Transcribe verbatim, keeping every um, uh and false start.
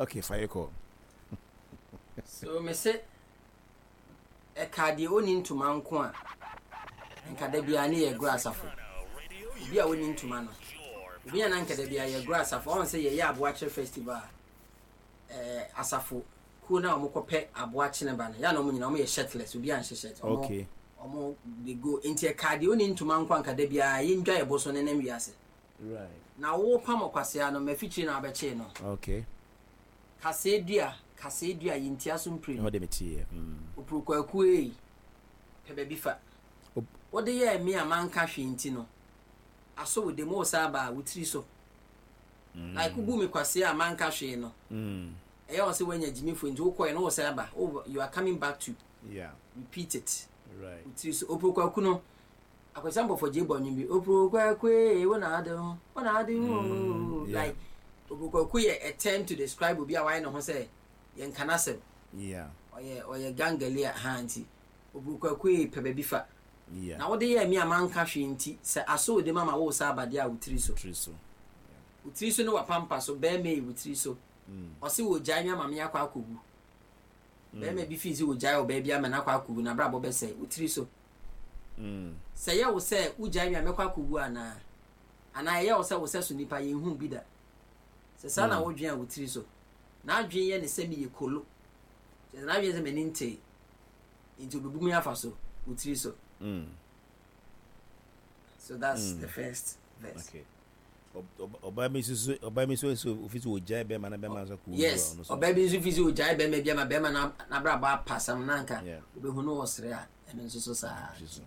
Okay, fa yɛ kɔ. So me se ɛka deɛ ɔni ntoma nko a, nka da biara ne yɛ goro asafo. Obi a ɔni ntoma no, obi a na nka da biara yɛ goro asafo. Ɔn sɛ yɛyɛ Aboakyere festival a, ɛɛ asafo kuo no a wɔkɔpɛ aboakyene ba no, yɛ a na wɔn nyinaa wɔyɛ shirtless, obi anhyɛ shirt. Ɔmo Okay. Ɔmo they go. Nti ɛka deɛ ɔni ntoma nko a, nka da biara yɛndwa yɛ bo so ne nam wiase. Right. Na wo pam ɔkwasea no, mafikyire na abɛkyee no. Okay. Kasɛɛ dua, kasɛɛ dua, yɛntia so mprenu. Ɛhɔ de me teɛ. Mm. Opurukwakuu ei, pɛ baabi fa. Op- Wode yɛɛ me a manka hwee nti no, aso wo de mu wo saa ba a, wo tiri so. Like wobu me kwasea a manka hwee no, Mm. ɛyɛ wɔn sɛ woanya gyimifo nti wokɔɛ no wo saa ba. Wo, you are coming back to Yeah. repeat it. Right. Wo tiri so. Opurukwakuu no, Akwasi Ampɔfo gye bɔ nnwom bi. Opurukwakuu ei, wo na ade ho, wo na ade ho. Mm, yeah. Like Opurukwakuu yɛ a term to describe obi a wayɛ ne ho sɛ yɛnka n'asɛm. Yeah. Ɔyɛ ɔyɛ gangali a ha nti Opurukwakuu ei, pɛ baabi fa. Yeah. Na wode yɛɛ me a manka hwee nti, sɛ aso wo de ma ma wo sa abadeɛ a, wo tiri so. Tiri so. Wo tiri so ne wapampa so, bɛrima yi, wo tiri so. Mm. Ɔse wɔ gyae me ama me akɔ akɔwu. Bɛrima bi fii sɛ wɔgyae ɔbaa bi ama no akɔ akɔwu na abrabɔ bɛsɛe, wo tiri so. Mm. Sɛ ɛyɛ wo sɛ wogyae me a mɛkɔ akɔwu anaa anaa ɛyɛ wo sɛ wo sɛ so nipa yɛnhu bi da, sɛ saa na wodwen a, wo tiri so. N'adwen yɛ ne sɛ meyɛ kolo kyerɛ sɛ n'adwen sɛ m'ani ntee nti obebu me afa so, wo tiri so. Mm. So that's Mm. the first verse. Okay. Ɔbaa bi nso so ɔbaa bi nso so ofi so ogyae bɛrima na bɛrima nso kɔ. Yes, ɔbaa bi nso fi sɛ ogyae bɛrima bi ama bɛrima n'abrabɔ apasam na nka Yeah. obehu no wɔ sere a, ɛno nso so saa. Tiri so.